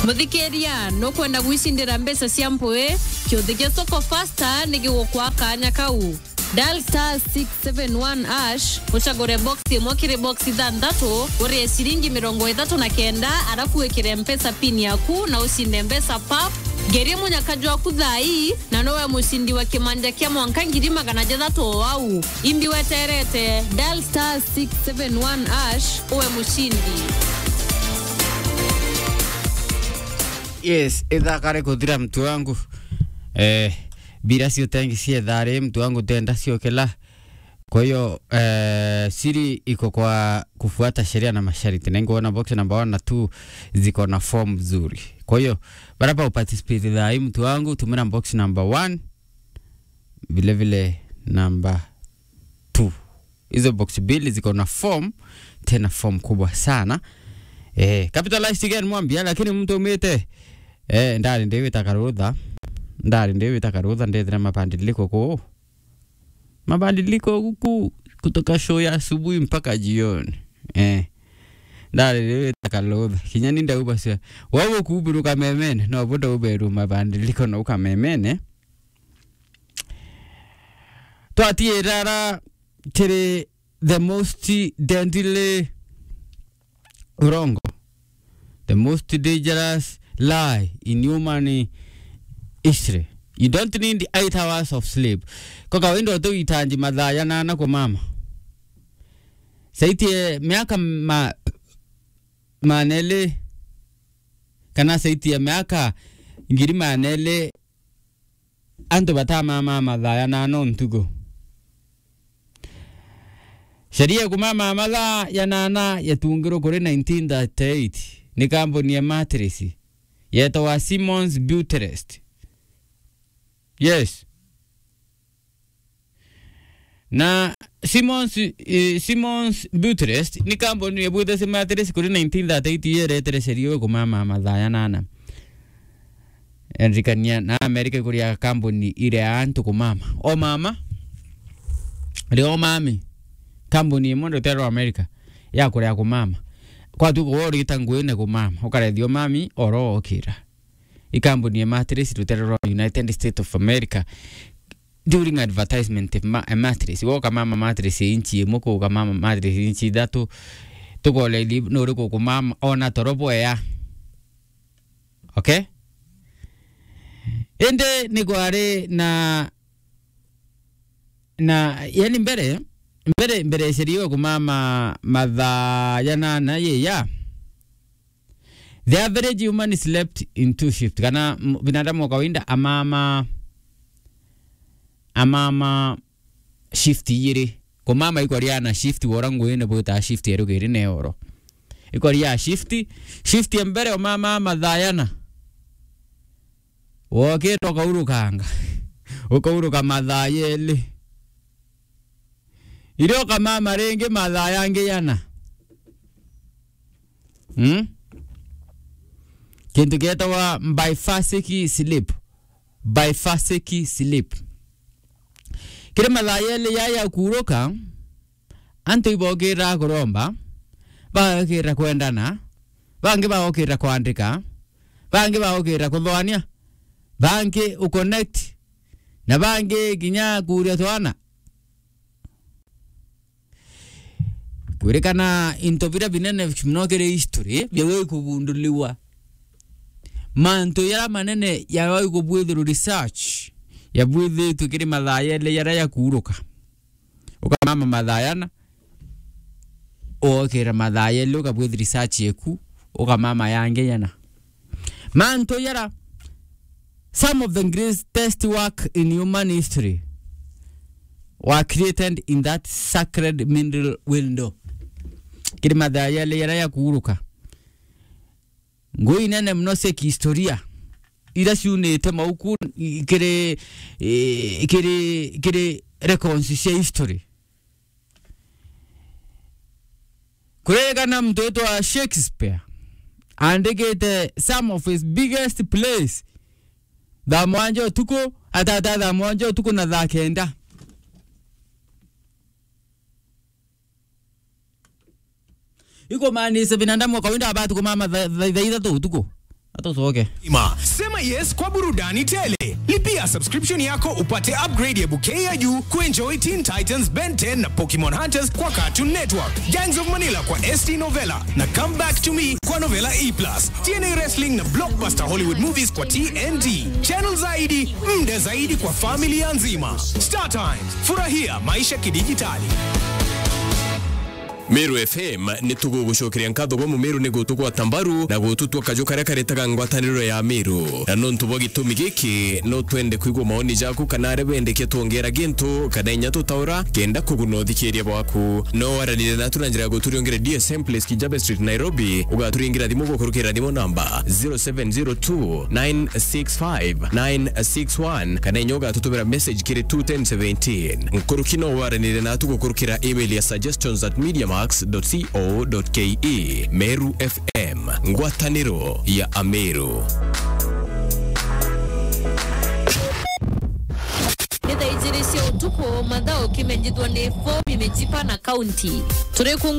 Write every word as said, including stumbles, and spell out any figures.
Muthikiria, nukwenda gwicindira mbeca cia mpwi? Kiuthi gia Soko Fasta ni gigukwa kanya kau. Dial star six seven one hash, ucagure box imwe kiri box ithanthatu, urie ciringi mirongo ithatu na kenda, arafu wikire Mpesa pin yaku na ucinde mbeca pap. Ngerie munyaka jwaku thaa ii, na nowe mucindi wa kimanja kia mwanka ngiri magana jathatu o au. Imbi weterete, dial star six seven one hash, uwe mucindi. Yes, ithakare kuthira mtu wangu. Eh, bila sio tengi sie thari mtu wangu tenda sio kila. Kwa hiyo, eh, siri iko kwa kufuata sheria na masharti. Na ingeona box number one na two ziko na form nzuri. Kwa hiyo, baraba uparticipate thaa hii mtu wangu, tumira box number one, vile vile number two. Hizo box mbili ziko na form, tena form kubwa sana. Eh, capitalized again mwambia, lakini mtu umite, eh, ndari ndiwita karutha. Ndari ndiwita karutha, ndethira mabadiliko kuu. Mabadiliko huku kutoka show ya asubuhi mpaka jioni. Eh. Ndari ndiwita karutha. Kinya ni ndauba cia. Wewe kuburuka memene, no buda uberu mabadiliko na ukamemene. Twatiirara kiri the most deadly urongo, the most dangerous lie in human history. You don't need eight hours of sleep. Kwa kawaida utuitanji mathaa janana kumama. Saitie miaka ma-, maneli, kana saitie miaka ngiri maneli, antu batamama mathaa janana o ntuku. Sheria ya kumama mathaa janana yatungirwe kuri nineteen thirty-eight ni kambuni ya mattress yetagwa Simmons Butrest. Yes. Na Simmons, eh, Simmons Butrest ni kambuni yabwithirwe mattress kuri nineteen thirty-eight yeretere sheria ya kumama mathaa janana. Enrikania na Amerika ikuria kambuni iria antu kumama. O mama, ri o mami, kambuni imwe ndoterwa Amerika ya kuria kumama. Kwatu kuwa urita nguine kumama, ukarethio mami, oro okira. Ikambuni ya mattress rutere rwa United States of America. During advertisement, ma-, mattress, woka mama mattress inchi imwe, kuka mama mattress inchi ithatu, tukole ili nuri kukumama ona toro bwea. Okay? Indi ni kwari na, na, yani mbere, mbere, mbere sheria kumama mathaa janana yeya. The average human slept in two shift. Kana m-, binadamu wa kawaida amama, amama shift ijiri. Kumama ikwaria na shift wora nguine bwita shift erugiri ne oro. Ikwaria shift, shift ya mbere umama mathaa jana. Wokite ukaurukanga. Ukauruka mathaa jeli. Irio ukamama ringi mathaa jangi jana. Hmm? Kintu kietagwa biphasic sleep. Biphasic sleep. Kiri mathaa jeli jaya ya kuuruka, antu ibokira kuromba, bagokira kwendana, bangi bagokira kwandika, bangi bagokira kuthwania, bangi uconnect, na bangi kinya kuuria twana. Kwirikana into biria binene mono kiri history biawe kugunduliwa. Mantu jaria manene jawe kubwithirwa research yabwithitwe kiri mathaa jeli jaria ya kuuruka. Ukamama mathaa jana, uokira mathaa jeli ukabwithi research yeku, ukamama yangi jana. Mantu jaria, some of the greatest work in human history were created in that sacred middle window. Kiri mathaa jeli jaria ya kuuruka. Ngui nene mono cia kihistoria, iria ciunite mauku i-, kiri, i-, kiri, kiri records cia history. Kuririkana muntu witwa Shakespeare aandikite some of his biggest plays thaa mwanja utuku, atata thaa mwanja utuku na thaa kenda. Ikumaanisha binadamu wa kawaida abati kumama tha-, tha-, thaa ithatu utuku. Hata usoke. Ima. Sema yes kwa burudani tele. Lipia subscription yako upate upgrade ya bouquet ya juu kuenjoy Teen Titans, Ben ten na Pokemon Hunters kwa Cartoon Network. Gangs of Manila kwa S T Novella na Come Back to Me kwa Novella E plus. T N A Wrestling na blockbuster Hollywood movies kwa T N T. Channel zaidi, muda zaidi kwa familia nzima. Star Times, furahia maisha kidijitali. Meru F M ni tugugucokeria nkatho gwa Mumeru ni gutugwata mbaru na gututua kaju karia karetaga ngwataniro ya Meru. Na nontu bwa gitumi giki, no twende kwigua maoni jaku kana aria bendekia twongera gintu kana inya tutaura kenda kuguna uthikiria bwaku. No waranire natu na njira ya guturiongera D S M Place, Kijabe Street, Nairobi. Ugaturingira thimu gukurukira thimu namba zero seven zero two nine six five nine six one kana inya ugatutumira message kiri two ten seventeen. Nkuruki no waranire natu gukurukira email ya suggestions at mediamax dot co dot ke. Meru F M, ngwataniro ya Ameru. Nĩ thaa ijĩrĩ cia ũtukũ, mathaa ũkĩmenyithwa nĩ Fomi Mĩtipa na Kaunti. Tũrĩ kũ